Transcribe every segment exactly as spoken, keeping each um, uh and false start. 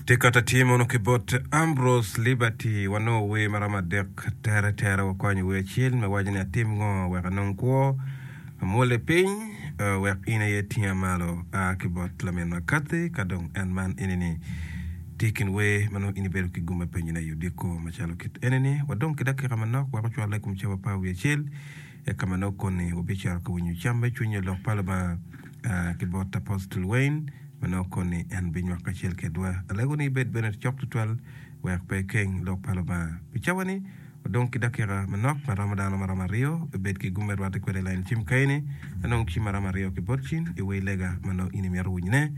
Tye ka tye mono ki bot Ambrose Liberty wanongo wer maromo adek tere tere wakwanyo wer acel me waco ni atim ngo wek anong kwo amwole piny eh, wek in aye tinga malo a ki bot laminwa Kathy ka dong en man enini tye i kin wer ma nongo in ibedo ki gum me penyone i odiko macalo kit enini wadong ki dakika manok wek ocwale i kom cawa apar wiye acel eka ma nongo koni wabicito ka winyo cam me cwiny lok pa Lubanga ah, ki bot Apostle Wayne ma nongo koni en binywako kacel kedwa. Alego ni ibed bene cok tutwal wek pe ikeng lok pa Lubanga. Pi cawa-ni, wadong ki dakika manok ma romo dano maromo aryo. Ibed ki gum me rwatte kwede i lain cim kaeni. Anong cim maromo aryo ki bot cin i wer lega ma nongo in imito winyone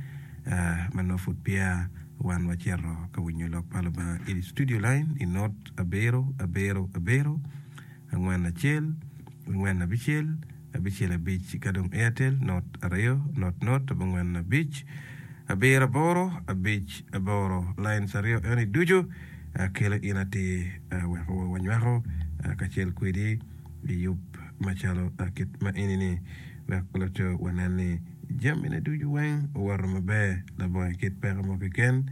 ah, ma nongo pud peya wan wacito ka winyo lok pa Lubanga i studio line i not abiro abiro abiro angwen acel angwen abicel abicel abic ka dong Airtel not aryo not not abongwen abic abiro aboro abic aboro lines aryo eni ducu ah, kelo in atir ah, weko wanywako ah, kacel kwedi i yub macalo ah, kit ma eni-ni wek loco wanen ni jamine ducu weng owoto maber labongo kit peko mo keken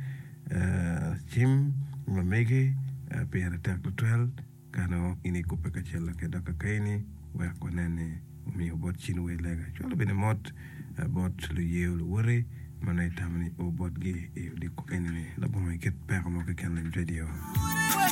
Ah, cim ma megi ah, pire tek tutwal ka nongo in ikubbe kacel ki dok kaeni wek wanen ni omiyo bot cin wer lega cwalo bene mot ah, bot luyeyo luwoti ma nongo itamo ni o botgi i odiko eni-ni labongo kit peko mo keken lany radio.